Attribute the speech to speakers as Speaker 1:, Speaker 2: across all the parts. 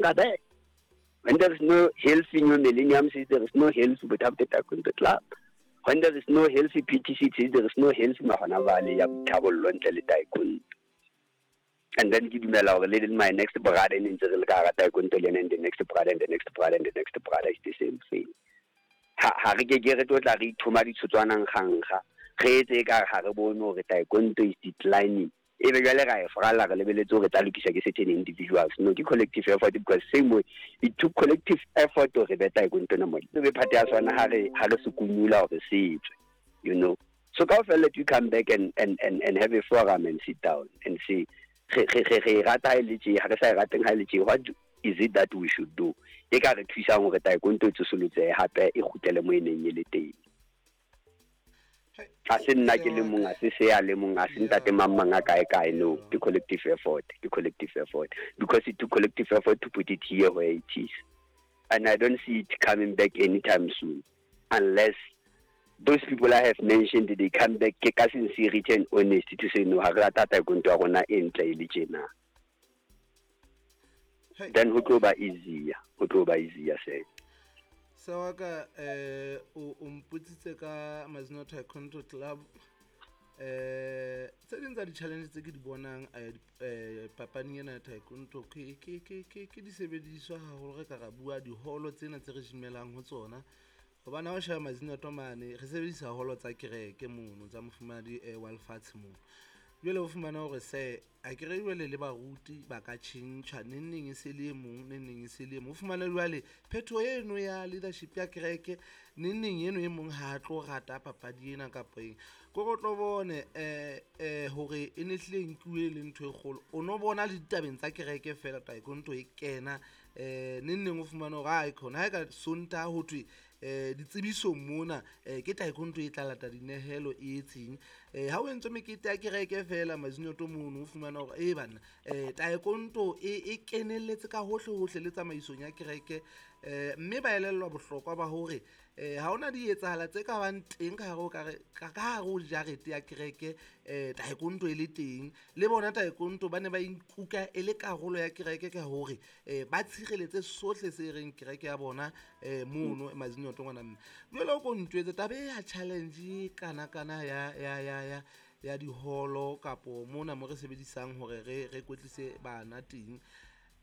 Speaker 1: There. When there is no healthy New Millennium, says there is no healthy Bothapelo Taekwondo Club. When there is no healthy PTC, says there is no healthy Magona Valley ya boithabollo ntle le taekwondo. And then ke dumela hore le my next brother ne ntse re le ka hara taekwondo le ena, and the next brother and the next brother and the next brother is the same thing. Ha re ke ke re tlo tla re ithoma ditshotswanang kgankga, re etse ekare ha re bone hore taekwondo is declining. Ebe jwale ra e fralla, re lebeletse hore tla lokiswa ke certain individuals. No, ke collective effort, because same way it took collective effort hore be taekwondo na mo. E be part ya sona ha re se kunyula hore se tswe. So kaofela let we come back and have a forum and sit down and say, re rata ha e le tje, ha re sa e rateng ha e le tje, what is it that we should do? E ka re thusang hore taekwondo e tsosolotsehe hape e kgutlele mo e neng e le teng. Ha se nna ke le mong, ha se se ya le mong, ha se ntate mang mang a kae kae, no, ke collective effort, ke collective effort. Because it took collective effort to put it here where it is. And I don't see it coming back anytime soon, unless those people I have mentioned, they come back ke ka sincerity and honesty to say, no, ha re rata taekwondo ya rona e ntle e le tjena. Then ho tlo ba easier, ho tlo ba easier se.
Speaker 2: Se wa ka o mpotsitse ka Mazino Taekwondo Club. Tse ding tsa di-challenge tse ke di bonang papading ena ya taekwondo ke disebediswa haholo. Re ka ra bua diholo tsena tse re jimelang ho tsona, hobane ha o sheba Mazinoto mane re sebedisa holo tsa kereke mono tsa mofumahadi wa lefatshe mono. Jwale o fumana hore se a ke re jwale le baruti ba ka tjhentjha neng neng e se le e mong, neng neng e se le e mong. O fumane jwale phethoho eno ya leadership ya kereke, neng neng eno e mong ha a tlo rata papadi ena kapa eng. Ko re o tlo bone hore e ne hlile e nkuwe e le ntho e kgolo. O no bona le ditabeng tsa kereke fela taekwondo e kena, neng neng o fumane hore ha e khona ha e ka Sontaha ho thwe ditsebiso mona, ke taekwondo e tla lata dinehelo e etseng. Ha o entswe mekete ya kereke fela Mazinyoto mono, o fumana hore e banna, taekwondo e kenelletse ka hohle hohle le tsamaisong ya kereke, mme ba elellwa bohlokwa ba hore ha hona di etsahala tse ka bang teng ka hare ho ka hare ho jarete ya kereke, taekwondo e le teng. Le bona taekwondo ba ne ba ikuka e le karolo ya kereke ka hore ba tshireletse sohle se reng kereke ya bona mono Mazinyoto ngwana mme. Jwale o ko ntjwetse taba e ya challenge e kana kana ya diholo kapo mona mo re sebedisang hore re kwetlise bana teng,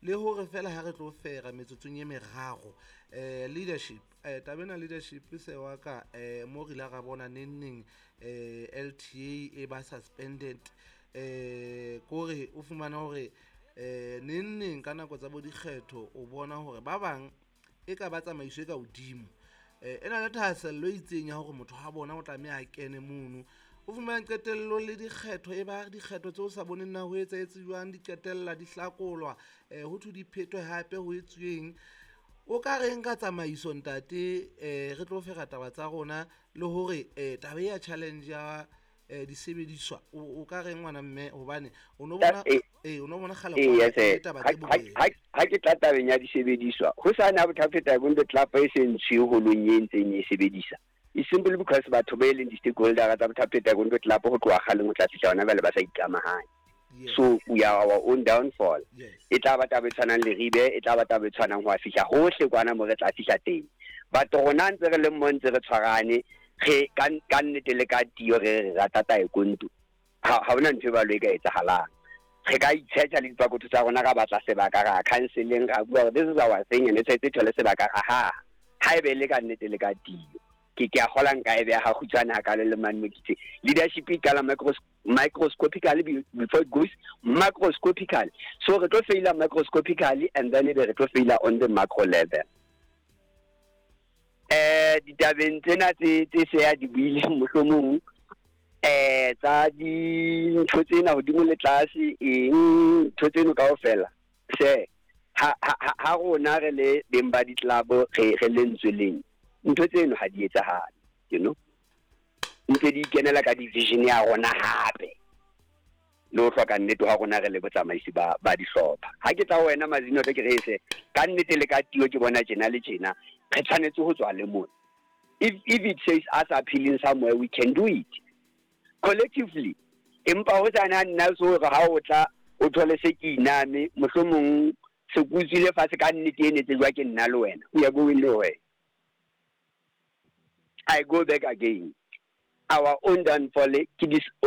Speaker 2: le hore fela ha re tlo fera metsotsong e meraro, leadership, taba ena leadership se wa ka, mo re ile ra bona neng neng LTA e ba suspended, kore o fumana hore neng neng ka nako tsa bo dikgetho o bona hore ba bang e ka ba tsamaiso e ka hodimo, e na le thahasello e itseng ya hore motho ha bona o tlameha a kene mono. O fumana qetello le dikgetho e ba dikgetho tse o sa boneng na ho etsahetse jwang, di qetella di hlakolwa, ho thwe di phetwe hape ho etsuweng. O ka reng ka tsamaiso ntate, re tlo fera taba tsa rona le hore taba ya challenge ya disebediswa, o ka reng ngwana mme, hobane o no bona o no bona kgale taba tse bobebe?
Speaker 1: Ha ke tla tabeng ya disebediswa, ho sa na Bothapelo Taekwondo Club e se ntshwe holong e ntseng e sebedisa. It's simply because batho ba e leng di-stakeholder tsa Bothapelo Taekwondo Club ho tloha kgaleng ho tla fihla hona jwale ba sa ikamahanya. So we are our own downfall. E tla ba taba e tshwanang le Ribe, e tla ba taba e tshwanang ho a fihla hohle kwana mo re tla fihla teng. But rona ntse re le mo ntse re tshwarane, re ka nnete le ka tiyo re rata taekwondo, ha hona ntho e balo e ka etsahalang. Re ka itshetjha le dipakotho tsa rona, ra batla sebaka, ra counseling, ra bua hore this is our thing and e tshwanetse thole sebaka. Ra ha ebe le ka nnete le ka tiyo, ke a kgola nka e beha ha kgutshwane hakalo le mane mo kitse leadership e qala microscopically before it goes macroscopically. So re tlo faila microscopically and then ebe re tlo faila on the macro level. Ditabeng tsena tse se ya di buileng, mohlomong tsa dintho tsena hodimo le tlase, eng ntho tseno kaofela se ha rona re le beng ba di-club, re lentswe leng ntho tseno ha di etsahale, ntse di ikenela ka division ya rona hape le ho hloka nnete ha rona re le botsamaisi ba dihlopha. Ha ke tla ho wena Mazino, ke re se ka nnete le ka tiyo ke bona tjena le tjena, re tshwanetse ho tswa le mona. If it says us appealing somewhere, we can do it collectively. Empa ho sa na nna so hore ha o tla o thole se ke iname, mohlomong. Se ke utswile fatshe ka nnete e ne tsejwa ke nna le wena. We are going nowhere. I go back again. Our own downfall ke disown.